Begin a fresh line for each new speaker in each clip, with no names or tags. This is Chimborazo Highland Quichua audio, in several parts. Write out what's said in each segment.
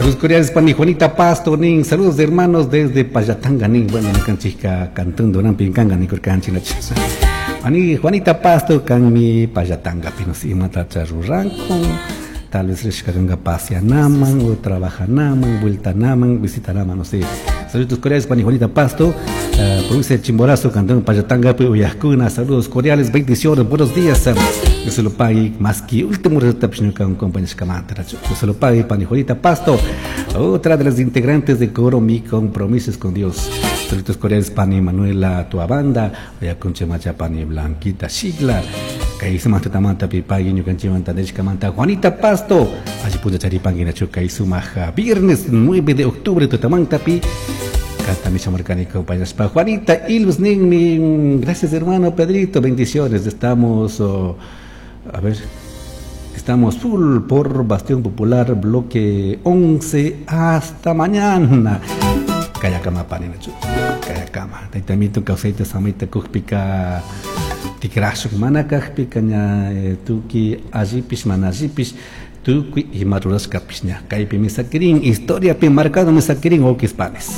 Saludos cordiales pani Juanita Pasto nin. Saludos hermanos desde Pallatanga nin. Bueno, ñukanchikka Cantón Duranpi kanga nikurkanchik. Pani Juanita Pasto kanmi Pallatangapi, no sé imatacha rurankun. Tal vez rishka kanga paseanaman o trabajanaman, vueltanaman, visitanaman, no sé. Saludos cordiales pani Juanita Pasto, provincia de Chimborazo, Cantón Pallatangapi, uyajkuna. Saludos cordiales, bendiciones, buenos días. Dios se lo pague, más que último resultado, ñuka compañía. Dios se lo pague, pani Juanita Pasto, otra de las integrantes de coro Mi Compromisos con Dios. Saludos cordiales pani Manuela Tuabanda, uyakunchik pani Blanquita Shigla. Kay sumaq tutamanta pipagui ñukanchikmanta nishkamanta Juanita Pasto. Alli puncha charipanki nachu kay sumaq viernes 9 de octubre tutamantapi. Kantami shamarkani compañaspa Juanita Ilves ninmi. Gracias, hermano Pedrito, bendiciones. Estamos, oh, a ver, estamos full por Bastión Popular, bloque 11, hasta mañana. Kayakama pani nachu. Kayakama. Tayta Amito kawsayta samayta kukpika tikrashuk mana kajpika ña tukuy allipish mana allipish tukuy ima rurashkapish ña kaypimi sakirin, historiapi marcado sakirin wawkis panis.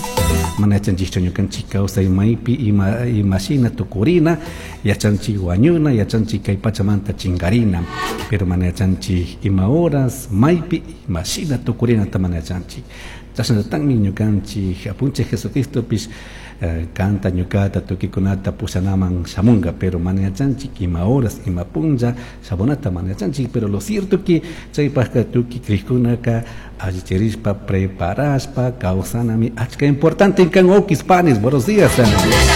Mana yachanchikchu ñukanchik kawsay maypi ima imashina tukurina, yachanchik wañuna, yachanchik kay pachamanta chinkarina, pero mana yachanchik ima horas maypi imashina tukurinata mana yachanchik. Chashnallatakmi ñukanchik Apunchik Jesucristopish kanta ñukata tukikunata pushanaman shamunga, pero mana yachanchik ima horas ima punlla shamunata mana yachanchik. Pero lo cierto que chaypajka tukuy crikkunaka allichirishpa preparashpa kawsanami achka importante kan, wawkis panis. Buenos días.